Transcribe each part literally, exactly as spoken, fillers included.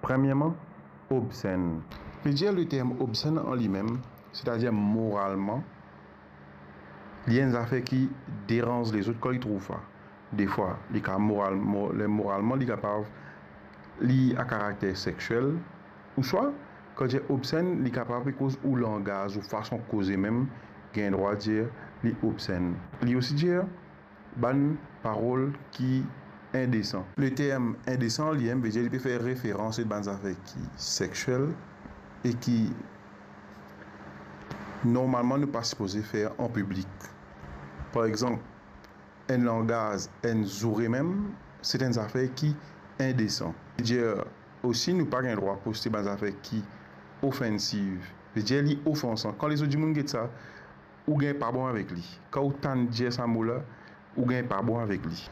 Premierman, obsenn. Pe dir leterm obsenn an limem, setadir moralman, li enn zafer ki deranz lezot kan li trouv sa. Defwa, li ka moral-, mo-, le-, moralman, li kapav, li a karakter sexiel, ouswa, kan dir obsenn, li kapav pe koz ou langaz, ou fason koze mem, gagn drwa dir li obsenn. Li osi dir bann parol ki indesan. Leterm indesan, limem, vedir li pe fer referans a bann zafer ki sexiel e ki, normalman, nou pa sipoze fer an piblik. Par exanp, enn langaz, enn zoure mem, se enn zafer ki indesan. Vedir osi, nou pa gagn drwa poste bann zafer ki ofensiv. Vedir li ofansan. Kan lezot dimoun get sa, ou gagn pa bon avek li. Kan ou tann dir sa mo la, ou gagn pa bon avek li.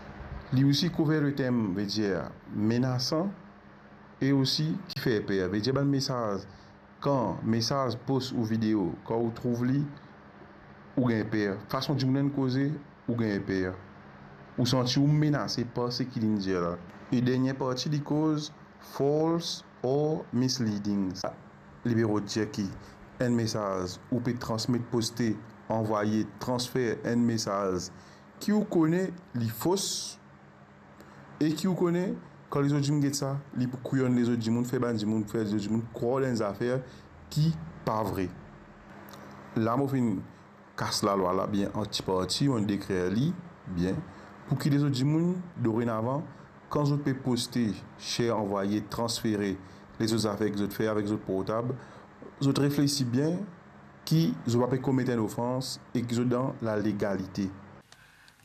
Li osi kouver leterm, vedir menasan, e osi ki fer per. Vedir bann mesaz, kan mesaz, post ou video, kan ou trouv li, ou gagn per. Fason dimoun inn koze, ou gagn per. Ou santi ou menase par seki linn dir la. E dernie parti, li koz false or misleading. Li pe rod dir ki enn mesaz ou pe transmet, poste, anvwaye, transfer enn mesaz ki ou kone li fos e ki ou kone, kan lezot dimoun get sa, li pou kouyonn lezot dimoun, fer bann dimoun, fer lezot dimoun krwar dan enn zafer ki pa vre. La mo finn kas lalwa la bien an ti parti, mo dekrir li bien, pou ki lezot dimoun, dorenavan, kan zot pe poste, share, anvwaye, transfere lezot zafer ki zot fer avek zot portab, zot reflesi bien ki zot pa pe komet enn ofans e ki zot dan lalegalite.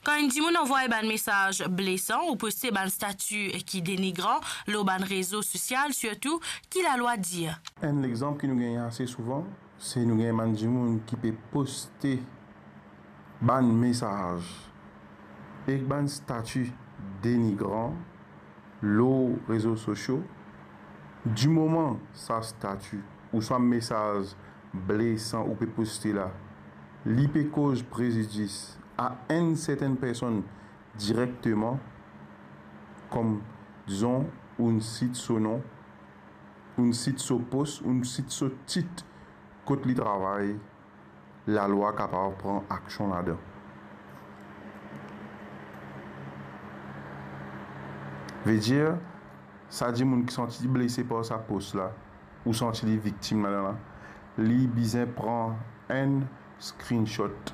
Kan enn dimoun anvway bann mesaz blesan ou poste bann stati ki denigran lor bann rezo sosial, sirtou, ki lalwa dir? Enn lexanp ki nou gagn ase souvan, se nou gagn bann dimoun ki pe poste bann mesaz ek bann stati denigran lor rezo sosio. Dimoman sa stati ouswa mesaz blesan ou pe poste la, li pe koz prezidis a enn sertenn personn direkteman, kom, dizon, ou'nn sit so nom, ou'nn sit so pos, ou'nn sit so tit kot li travay, lalwa kapav pran aksion ladan. Vedir, sa dimoun ki santi li blese par sa post la, ou santi li viktim ladan la, li bizin pran enn screenshot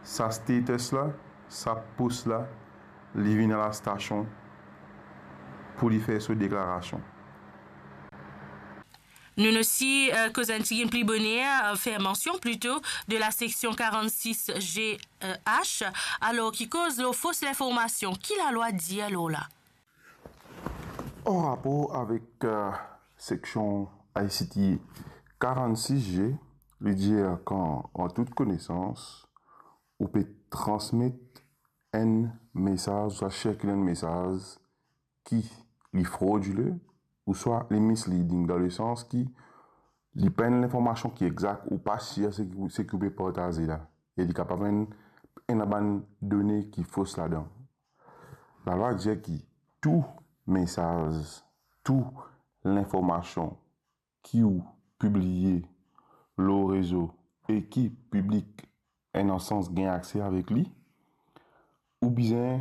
sa status la, sa post la, li vinn a lastasion pou li fer so deklarasion. Nou'nn osi, euh, koz enn tigit pli boner, euh, fer mansion plito de la seksion quarante-six G H, alor ki koz lor fos linformasion. Ki lalwa dir lor la? An rapor avek, euh, seksion I C T quarante-six G, li dir kan, an tout konesans, ou pe transmet enn mesaz, ouswa sirkil enn mesaz ki li frodile, ouswa li misleading, dan lesans ki li pa enn linformasion ki exak, ou pa sir seki, seki ou pe partaze la, e li kapav enn, ena bann done ki fos ladan. Lalwa dir ki tou mesaz, tou linformasion ki ou pibliye lor rezo e ki piblik ena sans gagn akse avek li, ou bizin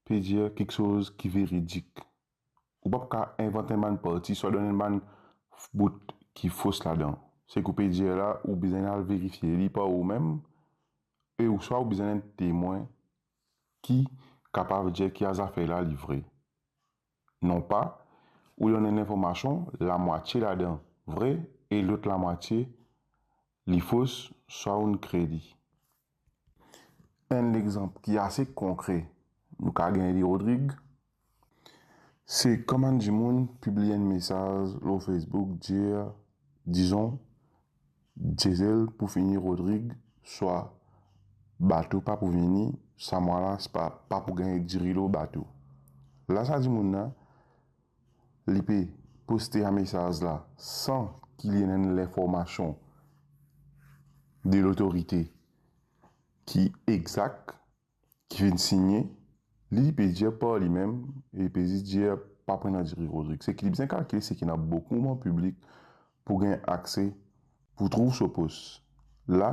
pe dir kiksoz ki veridik. Ou pa pou kav invant enn bann parti, swa donn enn bann bout ki fos ladan. Seki ou pe dir la, ou bizin al verifie li par ou mem, e ouswa ou bizin enn temwin ki kapav dir ki sa zafer la li vre. Non pa, ou donn enn linformasion, lamwatie ladan vre e lot lamwatie li fos, swa ou'nn kre li. Enn lexanp ki ase konkre, nou kav gagn li Rodrig, se kan bann dimoun pibliye enn mesaz lor Facebook, dir, dizon, Diesel pou fini Rodrig, swa bato pa pou vini, sa mwa la, se pa, pa pou gagn diri lor bato. La sa dimoun la, li pe poste sa mesaz la san ki li ena enn linformasion de lotorite ki exak, ki finn signe, li, li pe dir par limem, e li pe zis dir pa pou ena diri Rodrig. Seki li bizin kalkile, seki ena boukou moman piblik pou gagn akse, pou trouv so pos. La,